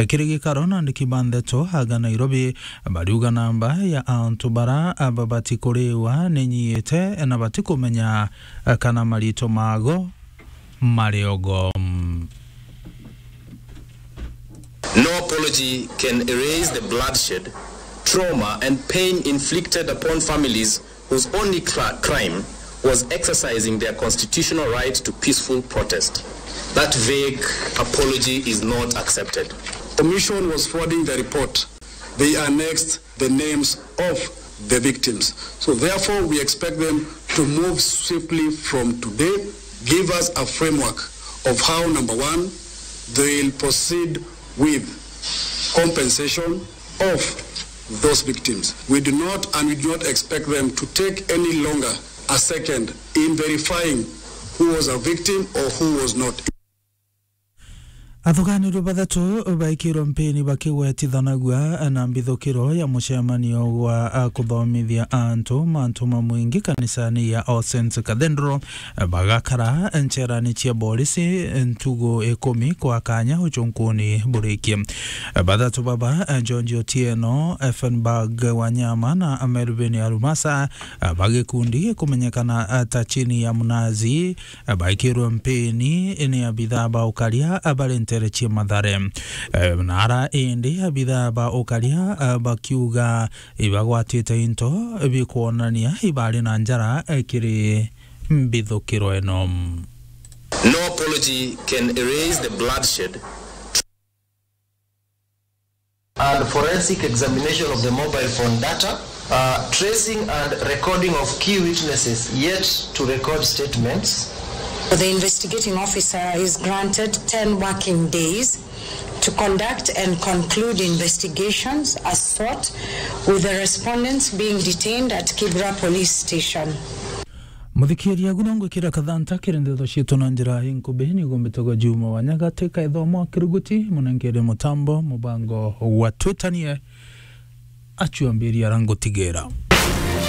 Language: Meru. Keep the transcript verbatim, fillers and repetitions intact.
Kiri gikaro na andiki ba ndeto aga Nairobi bariuga namba ya antu bara babati kuriwa ni nyiite na batikumenya kana marito mago mari ogo. No apology can erase the bloodshed, trauma and pain inflicted upon families whose only cra- crime was exercising their constitutional right to peaceful protest. That vague apology is not accepted. Commission was forwarding the report. They annexed the names of the victims. So therefore, we expect them to move swiftly from today, give us a framework of how, number one, they will proceed with compensation of those victims. We do not and we do not expect them to take any longer a second in verifying who was a victim or who was not. Athuganirwe bathatu baikirwe mpini bakigwetithanagua na mbithukiro ya mucemanio gwa kuthomithia antu mantu ma mwingi kanisani ya All Saints Cathedral, bagakara ncherani cia borisi ntugu ikumi kwa kanya ucunkuni burikie. Bathatu baba, George Otieno, Effenberg Wanyama na Melvin Arumasa, ba gikundi gikumenyekana ta Chini ya Mnazi, baikirwe mpini ni abithaa ba ukaria bari ntere cia Mathare. Na ara indi abithaa ba ukaria bakiuga ibagwatite into bikwonania ibari na njara kiri mbithukiro ino. No apology can erase the bloodshed. And forensic examination of the mobile phone data, uh, tracing and recording of key witnesses yet to record statements. The investigating officer is granted ten working days to conduct and conclude investigations as sought, with the respondents being detained at Kibra Police Station. Muthikiria, agu no ngwikira kathanta kiri ndeto cietu na njira inkubi, niguo mbitagwa Juma Wanyagati, kaithomo kiruguti, munenkere mutambo, mubango wa Twitanie, acuambiria arangutigira.